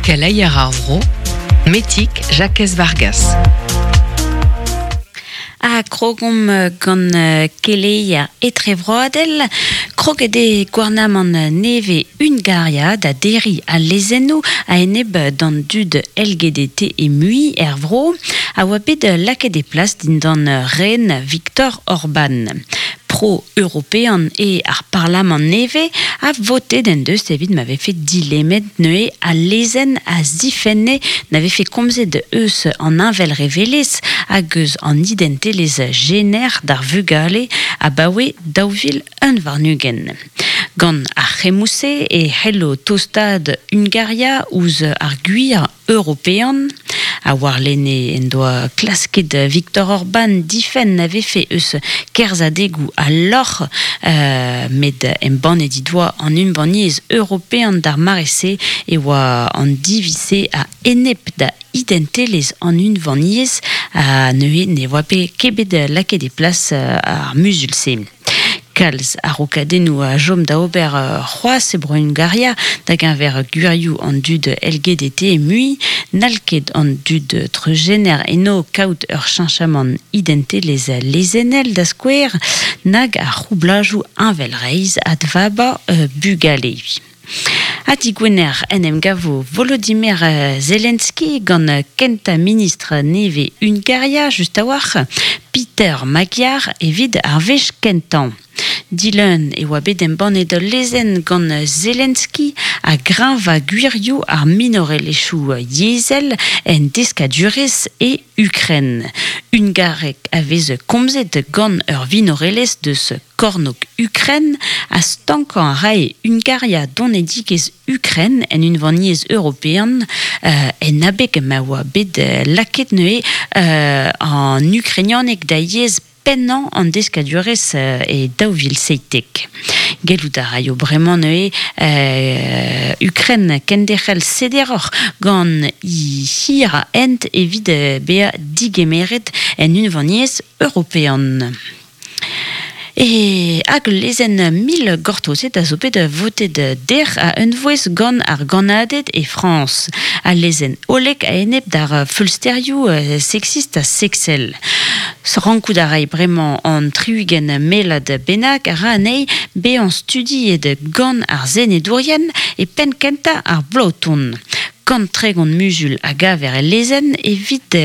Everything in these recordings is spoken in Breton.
Keleier ar vro, Metig Jakez Vargas. Ha krogomp gant keleier etrevroadel. Kroget eo gouarnamant nevez Hungaria da derriñ al lezennoù a-enep d'an dud LGBT e mui er vro a oa bet lakaet e plas dindan ren Viktor Orban. Pro-european eo ar parlamant nevez ha votet en deus evit ma vefe dilemmet neuze al lezenn a zifenne na vefe komzet eus an heñvelrevelezh hag eus an identelezh jener d'ar vugale abaoe 2021. Gant ar c'hemmoù-se e c'hello tostaat Hungaria ouzh ar gwir european. Ha warlene en doa klasket Viktor Orban difenn na vefe eus kerzhadegoù al lorc'h, met embannet he doa an Unvaniezh European d'ar mare-se e oa an diviz-se a-enep da identelezh an Unvaniezh ha neuze ne oa ket bet lakaet e plas ar muzul-se. Kalz a-raokadennoù a chom da ober c'hoazh e Bro-Hungaria da-geñver gwirioù an dud LGBT mui. N'hall ket an dud treuzjener eno kaout ur cheñchamant identelezh lezennel da skouer, nag ar c'houblajoù heñvelreizh advabañ bugale. Ha digwener en em gavo Volodymyr Zelensky gant kentañ ministr nevez Hungaria just a-walc'h, Peter Magyar, evit ar wech kentañ. Dilun e oa bet embannet ul lezenn gant Zelensky a greñva gwirioù ar minorelezhioù yezhel en deskadurezh e Ukren. Hungareg a vez komzet gant ur vinorelezh deus kornôg Ukren ha stankañ a rae Hungaria donedigezh Ukren en Unvaniezh European en abeg ma oa bet lakaet neuze an ukrainianeg da yezh pennañ an deskadurezh e 2017. Gellout a raio bremañ neuze Ukren kenderc'hel sederoc'h gant he hir a hent evit bezañ digemeret en Unvaniezh European. E hag ul lezenn mil gortozet a zo bet votet dec'h a-unvouezh gant ar gannaded e Frañs. Al lezenn hollek a-enep d'ar feulsterioù seksist ha seksel. Rankout a ray bremañ an 60 mellad bennak a ra anezhi bezañ studiet gant ar senedourien e penn kentañ ar bloaz-tont. 130 muzul a gaver el lezenn evit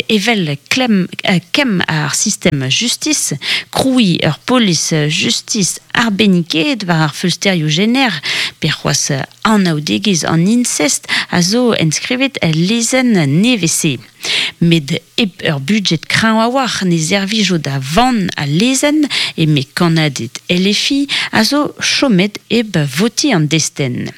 evel klemm kemm ar sistem justis, krouiñ ur polis justis arbennikaet war ar feulsterioù jener pe c'hoazh anaoudegezh an insest a zo enskrivet el lezenn nevez-se. Met hep ur budjed kreñv a-walc'h ne servijo da vann al lezenn, eme kannaded LFI, a zo chomet hep votiñ an destenn.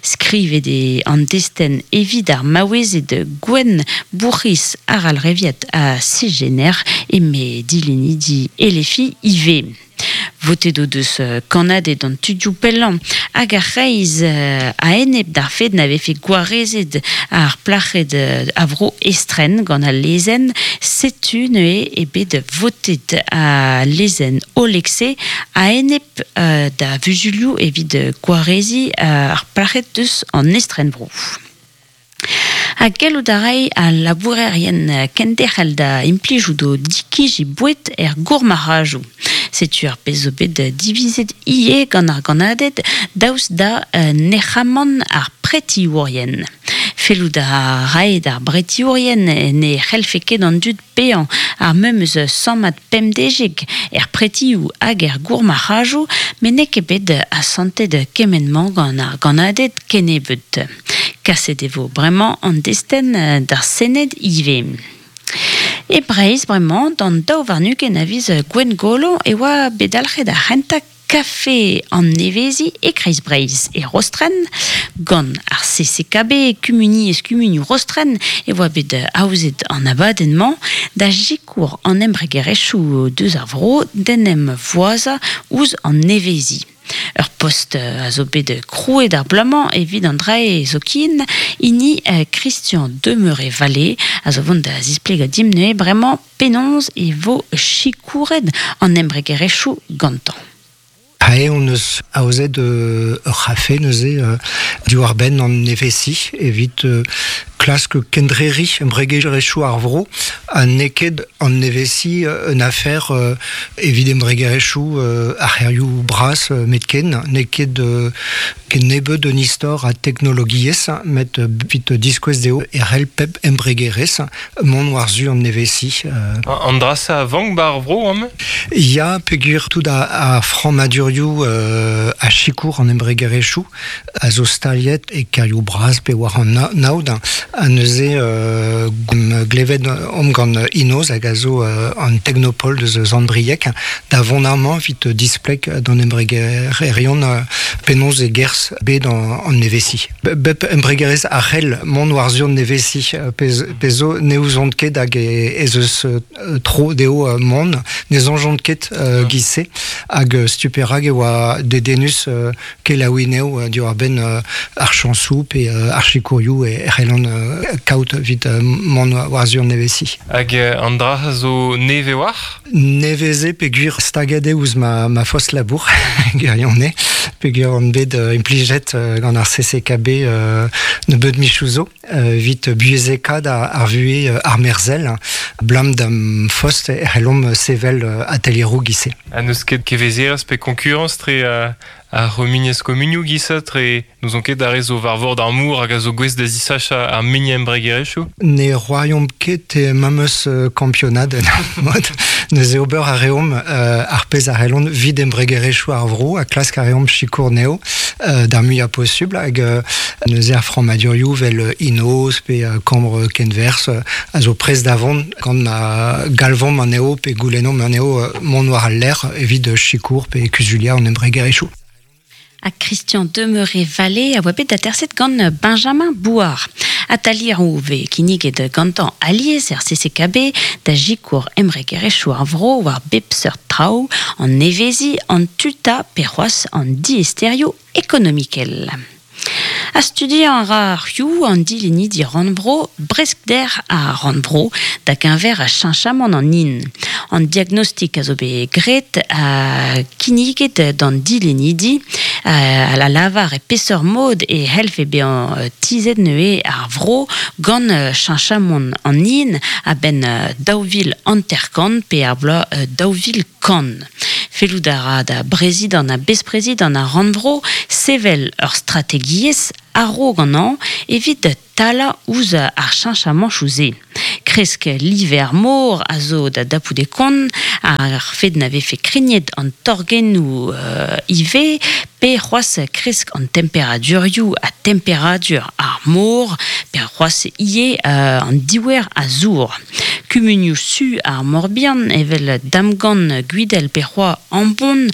Skrivet eo an destenn evit ar maouezed gwenn bourc'hiz arallreviat ha cisjener, eme dilennidi LFI ivez. Votet o deus kannaded an tudioù pellañ hag ar c'hreiz a-enep d'ar fed na vefe gwarezet ar plac'hed a vro estren gant al lezenn. Setu neuze eo bet votet al lezenn hollek-se a-enep da vuzulioù evit gwareziñ ar plac'hed deus an estrenvro. Ha gellout a ray al labourerien kenderc'hel da implijout o dikiji boued er gourmarc'hajoù. Setu ar pezh zo bet divizet ivez gant ar gannaded daoust da nec'hamant ar pretiourien. Fellout a rae d'ar bretiourien ne c'hellfe ket an dud paeañ ar memes sammad pemdeziek er pretioù hag er gourmarc'hajoù met n'eo ket bet asantet kement-mañ gant ar gannaded kennebeut. Kaset e vo bremañ an destenn d'ar Sened ivez. E Breizh bremañ, d'an 22 a viz Gwengolo e oa bet dalc'het ar c'hentañ kafe an neveziñ e Kreiz Breizh, e Rostrenn. Gant ar CCKB, Kumuniezh Kumunioù Rostrenn, e oa bet aozet an abadenn-mañ da sikour an embregerezhioù deus ar vro d'en em voazañ ouzh an neveziñ. Ur post a zo bet krouet ar bloaz-mañ evit an drae zoken, hini Christian Demeuré-Vallée, a zo vont da zisplegañ dimp neuze bremañ penaos e vo sikouret an embregerezhioù gantañ. Ae hon eus aozet ur c'hafe neuze diwar-benn an nevezi evit klask kendreriñ embregerezhioù ar vro ha n'eo ket an nevezi un afer evit embregerezhioù ar c'hêrioù bras metken n'eo ket ken nebeut un istor a teknologiezh met evit diskouez dezho e c'hell pep embregerezh mont war-zu an nevezi. An dra-se a vank 'ba ar vro amañ? Ya, peogwir tout ar frammadurioù a sikour an embregerezhioù a zo staliet e kêrioù bras pe war an aod. Ha neuze glevet omp gant Inoz hag a zo an teknopol deus Sant-Brieg da vont amañ evit displeg d'an embregererion penaos e gerzh bed an nevezi. Bep embregerezh a c'hell mont war-zu an nevezi pezh zo ne ouzont ket hag ez eus tro dezho mont ne soñjont ket giz-se hag setu perak e oa dedennus kelaouiñ anezho diwar-benn ar chañsoù pe ar sikourioù e c'hellont kaout evit mont war-zu an nevezi. Hag an dra zo nevez war? Nevez eo peogwir staget eo ouzh ma, ma fost labour, gwirionez, peogwir on bet implijet gant ar CCKB nebeut michoù zo evit buhezekaat ar vuhez armerzhel. Ablam d'am fost e c'hellomp sevel atelieroù giz-se. Ha n'eus ket kevezerezh pe konkurañs tre ar c'humuniezh komunioù giz-se tre n'ouzon ket ar re zo war vord ar mor hag a zo gouest da zisachañ ar muiañ embregerezhioù. Ne c'hoariomp ket e memes kampionad en ur mod. Neuze ober a reomp ar pezh a c'hellont evit embregerezhioù ar vro ha klask a reomp sikour anezho d'ar muiañ posubl hag neuze ar frammadurioù vel Inoz pe Kambr Kenwerzh a zo prest da vont gant ma galvomp anezho pe goulennomp anezho mont war al lec'h evit sikour pe kuzuliañ an embregerezhioù. Ha Christian Demeuré-Vallée a oa bet aterset gant Benjamin Bouard. Atalier vez kinniget gantañ alies er CCKB da sikour embregerezhioù ar vro war bep seurt traoù, an neveziñ, an tuta pe c'hoazh an diaesterioù ekonomikel. Ha studiañ a ra ar Rioù an dilennidi rannvro Breskder ar rannvro da geñver cheñchamant an hin. An diagnostik a zo bet graet ha kinniget d'an dilennidi a lavar e peseurt mod e c'hellfe bezañ tizhet neuze ar vro gant cheñchamant an hin a-benn 2050 pe ar bloaz 2100. Fellout a ra da brezidant ha besprezidant ar rannvro sevel ur strategiezh a-raok an hañv evit talañ ouzh ar cheñchamañchoù-se. Kresk live ar mor a zo da dapout e kont, ar fed na vefe krignet an torgennoù ivez, pe c'hoazh kresk an temperadurioù ha temperadur ar mor, pe c'hoazh ivez an diouer a zour. Kumunioù su ar Mor-Bihan evel Damgan, Gwidel pe c'hoazh Ambon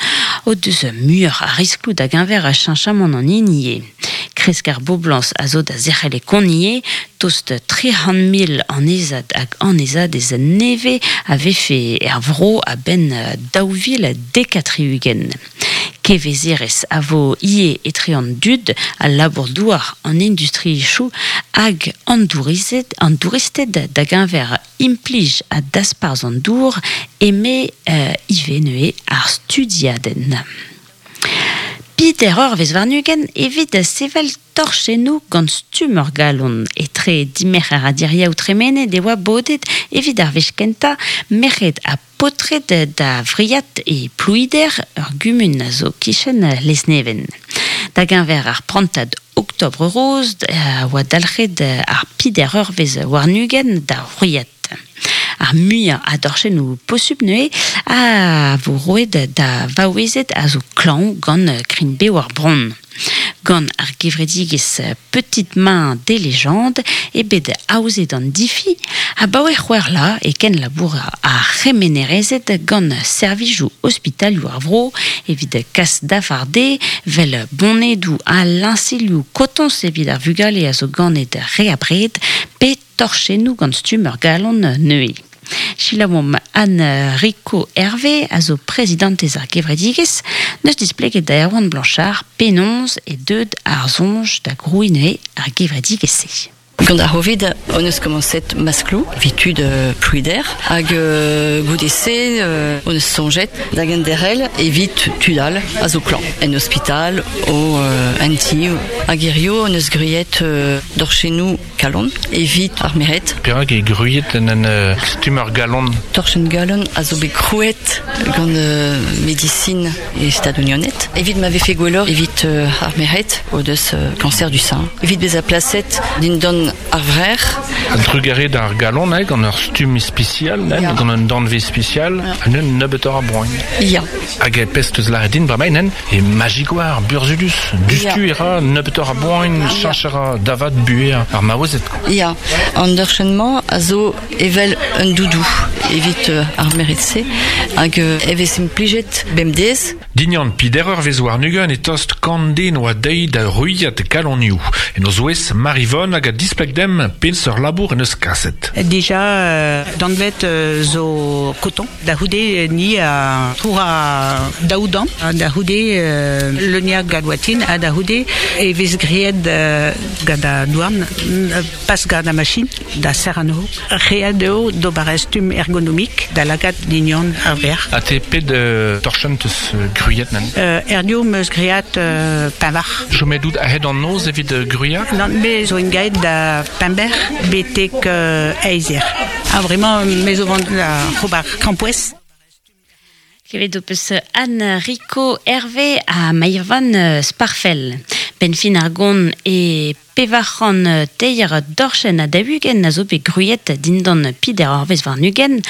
o deus muioc'h a riskloù da geñver cheñchamant an hin ivez. Kresk ar boblañs a zo da zerc'hel e kont ivez, tost 300 000 annezad hag annezadez nevez a vefe er vro a-benn 2070. Kevezerezh a vo ivez etre an dud, al labour-douar, an industriezhioù hag an douristed, an douristed da geñver implij ha dasparzh an dour, eme ivez neuze ar studiadenn. Peder eurvezh warn-ugent evit sevel torchennoù gant stumm ur galon. Etre dimerc'her ha diriaou tremenet e oa bodet evit ar wech kentañ merc'hed ha paotred da Vriad e Plouider, ur gumun a zo kichen Lesneven. Da geñver ar prantad Octobre Rose a oa dalc'het ar peder eurvezh warn-ugent da Vriad. Ar muiañ a dorchennoù posupl neuze a vo roet da vaouezed a zo klañv gant krign-bev ar bronn. Gant ar gevredigezh Petite Main des Légendes eo bet aozet an difi abaoe c'hwec'h vloaz e kenlabour ar c'hemenerezed gant servijoù ospitalioù ar vro evit kas dafar dezhe 'vel bonedoù ha liñselioù kotoñs evit ar vugale a zo ganet re abred pe torchennoù gant stumm ur galon neuze. Selaouomp Anne Rico Hervé a zo prezidantez ar gevredigezh neus displeget da Erwan Blanchard penaos eo deuet ar soñj da grouiñ neuze ar gevredigezh-se. Gant ar Hovid, on eus komañset masklou, vitud plouider, hag goude-se on eus soñjet da genderc'hel evit tud all a zo klañv, en ospital, o en ti. Hag hirio on eus gwriet dorchennoù kalon evit ar merc'hed. Perak eo gwriet en un stumm ur galon? Torchenn galon a zo bet krouet gant medisin e Stadoù-Unanet evit ma vefe gwelloc'h evit ar merc'hed o deus cancer du sein. Evit bezañ plaset dindan ar vrec'h. A-drugarez d'ar galon, eh, gant ur stumm ispisial, eh, gant un danvez ispisial, un nebeutoc'h a boan. Ya. Hag e pezh teus lâret din bremañ, nen, e majik war, burzhudus, dustu e ra nebeutoc'h a boan, cheñch a ra da vat buhez ar maouezed. Ya, an dorchenn-mañ a zo evel un doudou evit ar merc'hed-se hag e vez implijet bemdez. Dignan pider eurvezh warn-ugent e tost kant den oa dezhi da ruilhat kalonioù. En o zouez Marivonne hag a displeg demp peseurt labour en deus kaset. Dija danvet zo koton. Da c'houde ni a troura daou damm. Da c'houde leuniañ gant ha da c'houde e vez graet gant an douarn, pas gant ar machin, da serr anezho. Ret eo d'ober ur stumm ergonomik da lakaat dignon ar vrec'h. Ha te pet torchenn teus gwriet nen? Erdio 'm eus graet pevar. Chomet out a-hed an noz evit gwriañ? Nann, me zo engaet da Pember betek eizh eur. Ha bremañ me zo vont da ober krampouezh. Klevet ho peus Anne Rico Hervé ha Mairvan Sparfel. Benn fin ar gont e 403 dorchenn ha 40 a zo bet gwriet dindan pider eurvezh warn-ugent,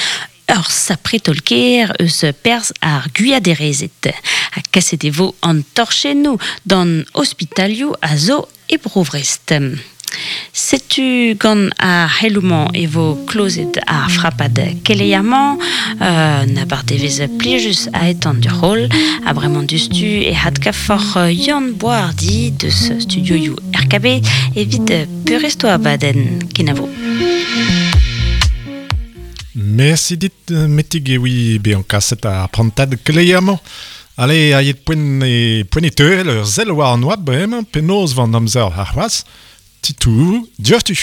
ur sapre taol-kaer eus perzh ar gwiaderezed. Ha kaset e vo an torchennoù d'an ospitalioù a zo e Bro-Vrest. Setu gant ar c'heloù-mañ e vo klozet ar frapad keleier-mañ. Un abardevezh plijus a-etan d'ur roll. Ha bremañ diouzhtu e adkavfoc'h Yann Boishardy deus studioioù RKB evit peurrest o abadenn. Kenavo. Mersi dit, Metig, e oui bezañ kaset ar prantad keleier-mañ. Ale, aet poent e, poent e teurel ur sell war an oabl bremañ, penaos 'vo an amzer arc'hoazh. Titour diouzhtu.